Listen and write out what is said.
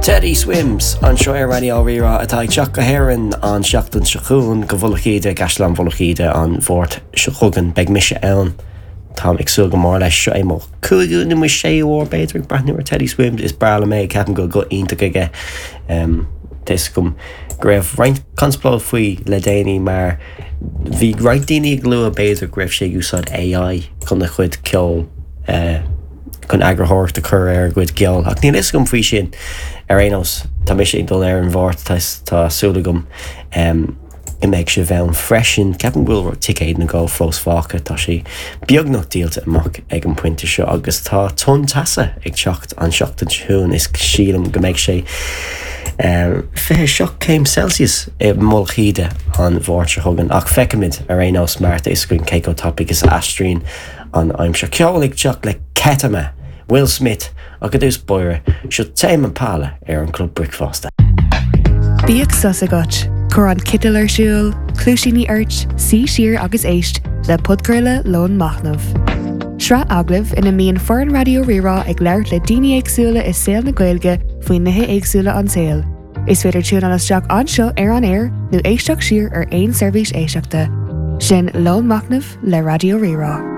Teddy Swims anseo ar Raidió Rí-Rá atá ag teacht go hÉirinn an tseachtain seo chugainn, go Mhullach Íde, i gCaisleán Mhullach Íde an Mháirt seo chugainn. Beidh mise ann. Táim ag súil go mór leis. Seo é mo chúigiú nó mo séú uair, b'fhéidir, ag breathnú ar Teddy Swims. Is breá liom é, ceapaim go bhfuil guth iontach aige. Tá fhios agam go raibh roinnt conspóid faoi le déanaí mar bhí roinnt daoine ag lua b'fhéidir go raibh sé ag úsáid AI chun a chuid ceoil chun eagarthóireacht a chur ar a gcuid ceoil ach níl fhios agam faoi sin. Ar aon nós, tá mise ag dul ar an Mháirt, tá súil agam go mbeidh sibh ann freisin. Ceapaim go bhfuil ticéid nó dhó fós fágtha, tá sé beagnach díolta amach ag an bpointe seo agus tá tonn teasa ag teacht an seachtain seo chugainn is sílim go mbeidh sé 27 céim Celsius i Mullach Íde an Mháirt seo chugainn ach feicfimid ar aon nós mar tá fhios againn cé chomh tapaidh is a aistríonn an aimsir. Ceol ag teacht le Ketama, Will Smith ach i dtús báire, seo Tame Impala ar an Club Bricfeasta. Bíodh sos agat, cuir an citeal ar siúl, cluaisíní ort, suigh siar agus éist le podchraoladh Lón Machnaimh. Sraith agallamh ina mbíonn foireann Raidió Rí-Rá ag labhairt le daoine éagsúla i saol na Gaeilge faoi nithe éagsúla an tsaoil. Is féidir tiúnáil isteach anseo ar an aer nó éisteacht siar ar aon seirbhís éisteachta. Sin Lón Machnaimh le Raidió Rí-Rá.